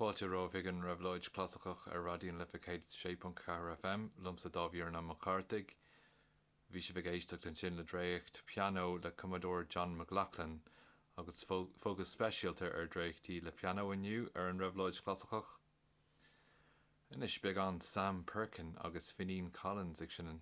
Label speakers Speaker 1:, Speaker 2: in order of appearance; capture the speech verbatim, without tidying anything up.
Speaker 1: Fáilte romhaibh chuig an Réabhlóid Chlasaiceach ar Raidió na Life céad sé ponc ceathair FM, liomsa Dáibhí Mac Cárthaigh. Bhí sibh ag éisteacht ansin le dréacht pianó le cumadóir John McLaughlin agus fócas speisialta ar dréachtaí le pianó inniu ar an Réabhlóid Chlasaiceach. Anois beagán Sam Perkin agus Finín Collins ag seinm.